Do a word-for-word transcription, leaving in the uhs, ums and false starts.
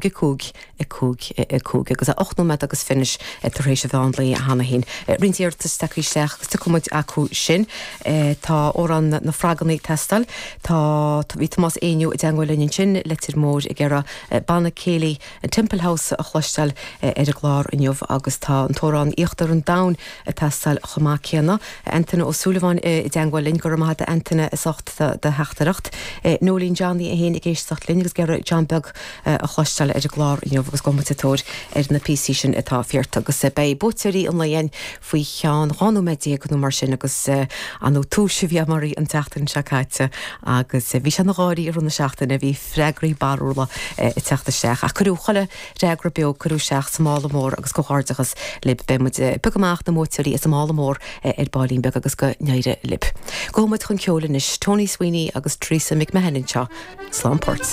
a cúig a cúig a cúig agus a ocht nóiméad agus fiche tar éis an mheán lae cheana féin. Roinnt iarratas tagtha isteach agus tiocfaidh muid acu sin tá amhrán na frogganna ag teastáil Tá bhí Tomás Éinniú i dteagmháil linn ansin Leitir Móir ag iarraidh banna céilí an Temple House a chloisteáil ar an gclár inniu agus tá an t-amhrán Íochtar an Domhain ag teastáil chomh maith céanna. Antaine Ó Súilleabháin i dteagmháil linn go raibh maith agat Antaine as ucht do theachtaireacht. Nólín Johnny é féin ag éisteacht linn agus ag iarraidh John Beag a chloisteáil ar an gclár inniu agus go muid tóir ar na píosaí sin atá iarrtha agus beidh buaiteoirí an lae faoi cheann dhá nóiméad déag nó mar sin agus an túis bhí mar an tseachtain seo caite agus bhí sé na gáirí ar na seachtaine bhí freagraí barrúla ag teacht isteach ach cuireadh chuile fhreagra beo cuireadh isteach sa mála mór agus comhghairdeachas libh beidh muid piocadh amach na buaiteoirí as an mála mór ar baillín beag agus go n-éirí libh. Gabhfaidh muid chun ceoil anois Tony Sweeney agus Teresa McMahon anseo slán port.